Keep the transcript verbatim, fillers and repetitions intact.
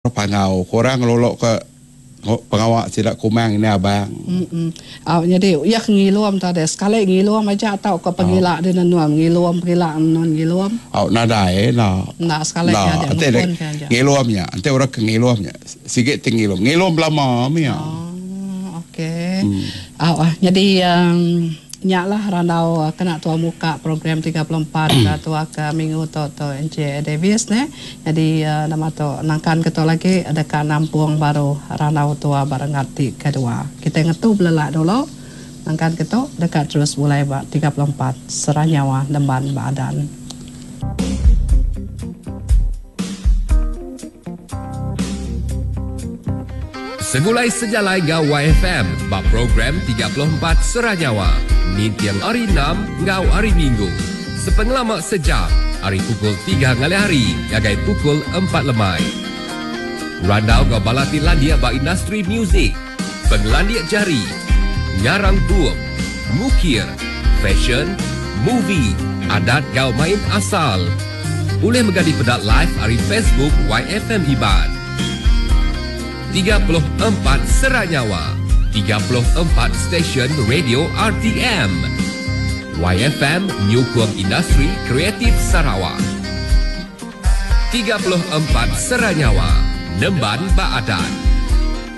Panggau ke orang ngelulu ke pengawa sida Kumang ini abang. Mm Au nyadi iya ke ngilum tu deh sekali ngilum aja tauka pegila deh nenun ngilum pegila nenun ngilum. Au nadai enda. Enda sekali nya aja ngepun ke aja. Ngilum nya enti orang ke ngilum nya sigi ti ngilum ngilum belama mih. Oh okey. Au nyadi Nya lah randau kena tua muka program tiga puluh empat ke tua ke minggu tu tu Encik Davis neh. Nyadi nama tu nangkan ke tu lagi deka nampung baru randau tua ba renggat ti kedua. Kitai ngetu belelak dulu nangkan ke tu deka terus bulai ba tiga puluh empat Serah Nyawa Nemban ba Adan. Segulai sejalai enggau Y F M ba program tiga puluh empat Sera Nyawa ninting hari Enam enggau hari Minggu sepengelama sejam ari pukul tiga ngalih hari ngagai pukul empat lemai. Randau enggau bala ti landik ba industri muzik, pengelandik jari, ngarang bup, ngukir, fashion, movie, adat enggau main asal. Ulih mega dipeda live ari Facebook Y F M Iban. Tiga puluh empat Sera Nyawa, tiga puluh empat stesen radio R T M. Y F M nyukung industri kreatif Sarawak. Tiga puluh empat Sera Nyawa, nemban ba adat.